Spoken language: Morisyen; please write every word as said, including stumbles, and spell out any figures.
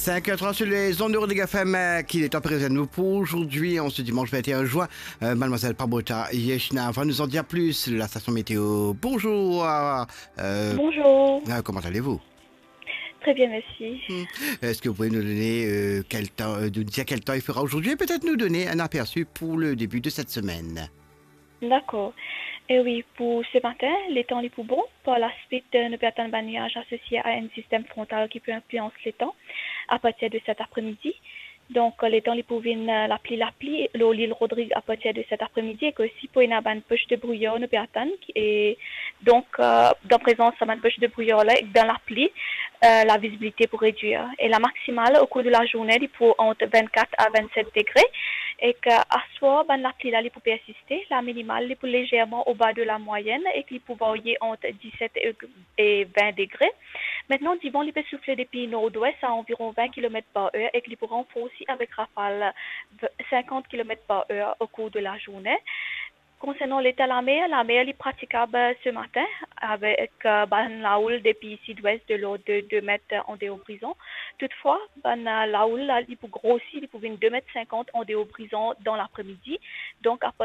Cinq heures trente sur les ondes de Rodrigue F M, euh, qu'il est temps présent nous pour aujourd'hui, en ce dimanche vingt et un juin. Euh, mademoiselle Pabota Yechna va nous en dire plus, la station météo. Bonjour, euh, Bonjour. Euh, comment allez-vous ? Très bien, merci. Hmm. Est-ce que vous pouvez nous donner, euh, quel temps, euh, nous dire quel temps il fera aujourd'hui et peut-être nous donner un aperçu pour le début de cette semaine ? Dakor. E wi, pou se matin, letan li pou bon. Par lasuit, euh, nou pe atann bann niaz asosie a enn sistem frontal ki pou inflians letan apartir de set apremidi. Donk, euh, letan li pou vinn, euh, lapli, lapli lor lil Rodrig apartir de set apremidi, ek osi pou ena bann poch de brouyar nou pe atann, ki, e donk, euh, dan prezans sa bann poch de brouyar la, ek dan lapli, euh, lavizibilite pou redwir. E lamaksimal, okour de lazourne, li pou ant vennkat a vennset degre. Ek, euh, aswar, bann lapli la, li pou persiste. Laminimal, li pou lezerman oba de lamwayenn ek li pou varye ant diset e, e vin degre. Aster, divan, li pe soufle depi nordwes a anviron vin kilomet par er ek li pou ranforsi avek rafal v-, sinkant kilomet par er okour de lazourne. Konsernan leta lamer, lamer li pratikab se matin avek, euh, bann laoul depi sidwes de lord de de met an deor Brizon. Toutfwa, bann, euh, laoul la, li pou grosi, li pou vinn de met sinkant an deor Brizon dan lapremidi. Donk, apar-,